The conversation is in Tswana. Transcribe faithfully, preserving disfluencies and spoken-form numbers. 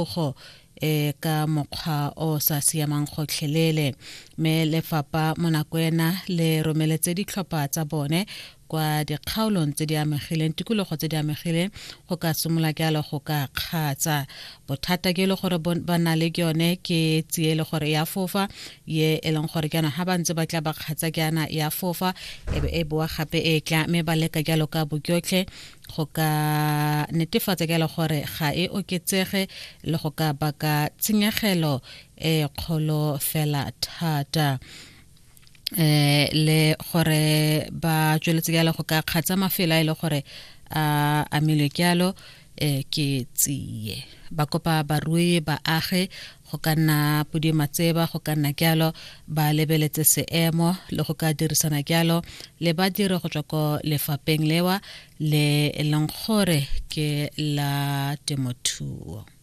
Go e ka mokgwa o sa siamang gotlhelele, mme lefapha mo nako ena le romeletse ditlhopha tsa bone kwa dikgaolong tse di amegileng, tikologo tse di amegileng, go ka simolola jalo go ka kgatsa bothata ke e le gore ba na le yone ke tsie le gore ya fofa ye e leng gore jaanong ga ba ntse ba tla ba kgatsa jaana ya fofa e be e boa gape e tla, mme ba leka jalo ka bojotlhe go ka netefatsa jalo gore ga e oketsege le go ka baka tshenyegelo e kgolo fela thata, eh le gore ba tsweletse jalo go ka kgatsa mafelo a e le gore a amilwe jalo eh ke tsie. Ba kopa barui baagi go ka nna podi matseba go ka nna jalo ba lebeletse seemo le go ka dirisana jalo le badiri go tswa ko lefapheng lewa le e leng gore ke la temothuo.